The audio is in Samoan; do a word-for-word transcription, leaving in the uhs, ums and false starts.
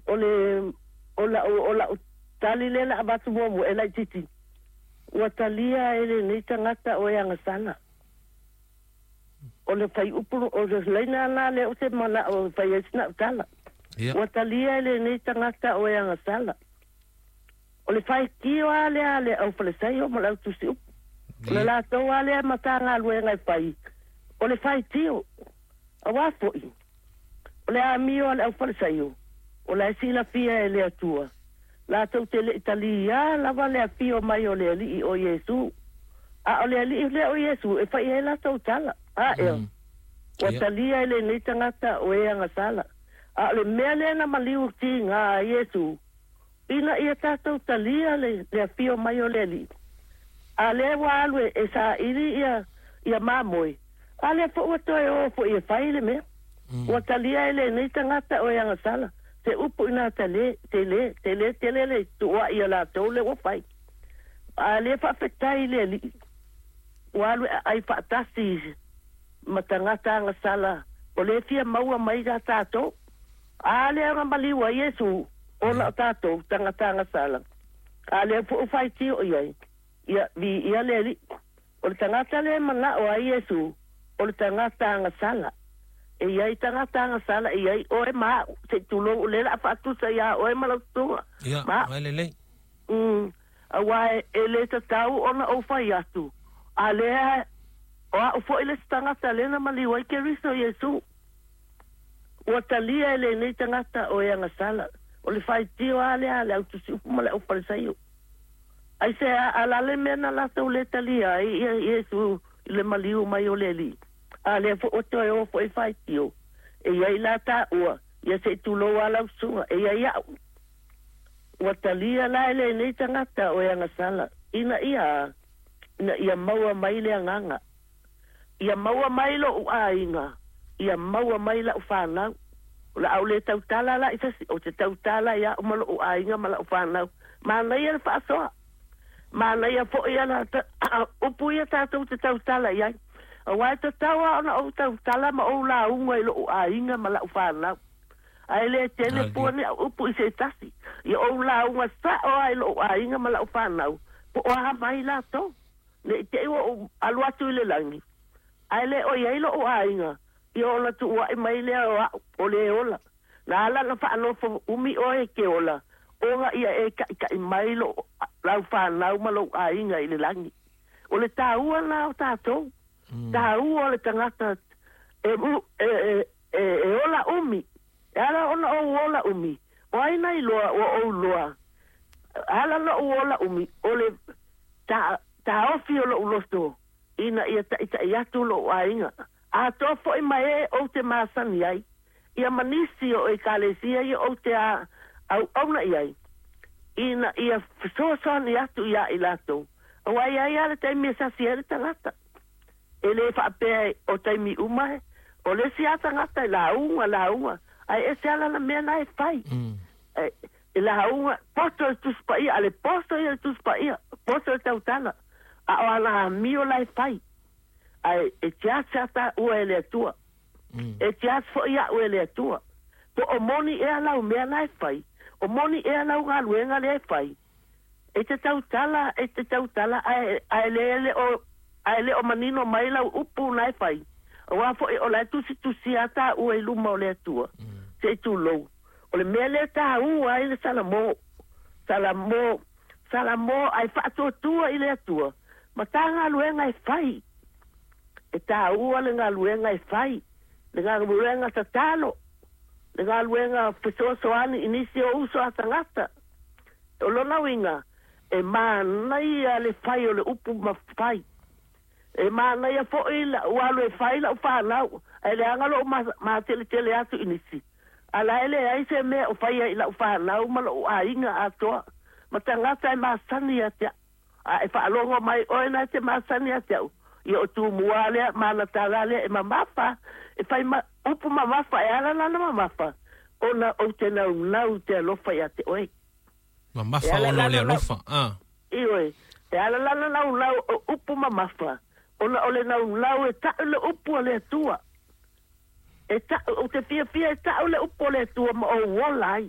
O le o la'u o la'u tali lea la avatu muamua e laitiiti ua talia e lenei tagata o e agasala. O le fuaiupu o le laina la lea ou te mana'o e fai ai sina'u tala. Ia. Ua talia e lenei tagata o e agasala. O le faitio lava lea a le aufalesaio ma le autusiupu. O le Ia. latou lava lea matagaluega e fai, o le faitio. Auā foi, o le amio a le aufalesaio, o la e silafia e le Atua, latou te le i taliā lava le afio mai o le Alii o Iesu. A o le Alii lea o Iesu e fai ai latou tala, a ea, Mm. ua Ia. talia e lenei tagata o e agasala. A o le mea lea na maliu tigā ai Iesu, ina ia tatou talia le, le afio mai o le Alii. A lea ua alu e, e saili ia, ia mamoe, a lea foi ua toe o foi e fai le mea. Mm. Ua talia e lenei tagata o e agasala. Se upu inā tale, tele, tele, tele le tuua'i a latou lea ua fai. A lea faafetai i le Alii, ua alu e aai faatasi ma tagata agasala o lea e fia maua mai ia tatou. A lea na maliu ai Iesu, ona o tatou tagata agasala. A lea foi ua faitio i ai, ia viia le Alii. O le tagata lea e mana'o ai Iesu, o le tagata agasala. E i ai tagata agasala, e i ai oe ma a'u, se i tulou o lea o le a faatusa iā oe ma lau susuga Ia, ma a'u. mai lelei. Mm, auā e, e lē tatau ona ou fai atu, a lea o a'u fo'i le isi tagata lea na maliu ai Keriso Iesu. Ua talia e lenei tagata o e agasala. O le faitio lava lea a le autusiupu ma le aufalesaio. Aisea a la le mea na latou lē talia ai ia Iesu i le maliu mai o le Alii? A lea foi ua toe o foi faitio, e i ai la taua, ia se i tulou lava lau susuga, e i ai a'u. Ua talia la e lenei tagata o e agasala, ina ia a? Ina ia maua mai le agaga. Ia maua mai lo'u aiga, ia maua mai la'u fanau. O le a ou le tautala la i se isi, ou te tautala ia a'u ma lo'u aiga ma la'u fanau. Manaia le faasoa. Manaia foi ala upu ia tatou te tautala i ai. Auā e tatau lava ona ou tautala ma ou lauga i lo'u aiga ma la'u fanau. Ae le tele fua ni au upu i se tasi. Ia ou lauga sa'o lava i lo'u aiga ma la'u fanau, po o a mai latou. Ne i te i ua ou alu atu i le lagi, ae le o i ai lo'u aiga, ia ona tuua'i mai lea o a'u, o le ola. Na ala ona fa'anofo umi oe e ke ola, ona ia e ta'ita'i mai lo lau fanau ma lou aiga i le lagi. O le tāua lena o tatou, Mm. tāua o le tagata e, e, e, e, e ola umi. E ala ona ou ola umi, o ai na iloa ua ou loa. Ala ona ou ola umi, o le ta, taofi o lo'u loto, ina ia ta'ita'i atu lo'u aiga. Atoa foi ma e ou te masani ai, ia ma nisi o ekalesia ia ou te a, auauna i ai, ina ia fesoasoani atu iā i latou. Auā e i ai lava le taimi e sasi ai le tagata. E lē faapea o taimi uma e, o le isi lava tagata e lauga, lauga, ae ese lava lana mea na e fai. Mm. E, e lauga, poto le Tusi Paia, a le poto ia le Tusi Paia, poto le tautala, a o ana amio la e fai. Ae e tiasi lava taua e le Atua. Mm. E tiasi foi a'u e le Atua. Po o moni ea lau mea la e fai, o moni ea lau galuega lea e fai. E te tautala, e te tautala, ae, ae le le o, ae le o manino mai lau upu na e fai. Auā foi o la e tusitusia lava taua i luma o le Atua, Mm. se i tulou. O le mea lea e tāua ai le Salamo, Salamo, Salamo ae faatuatua i le Atua, ma tā galuega e fai. E tāua le galuega e fai, le galuega tatalo, le galuega fesoasoani i nisi o uso a tagata. O lona uiga, e manaia le fai o le upu ma fai. E manaia foi la'u alu e fai la'u fanau, ae leaga lo'u mateletele atu i nisi. A la e leai se mea o faia i la'u fanau ma lo'u aiga atoa, ma tagata e masani ia te a'u. A e faalogo mai oe na e te masani ia te a'u, ia o Tumua lea ma ana tala lea e mamafa, e fai ma, upu mamafa e ala lana mamafa, ona ou te naunau i te alofa ia te oe. E Mamafa ala ona o le lana nau, alofa. Ah. ioe, e ala lana naunau o upu mamafa, ona o le naunau e ta'u le upu a le Atua. E ta'u, ou te fiafia e ta'u le upu a le Atua ma ou ola ai.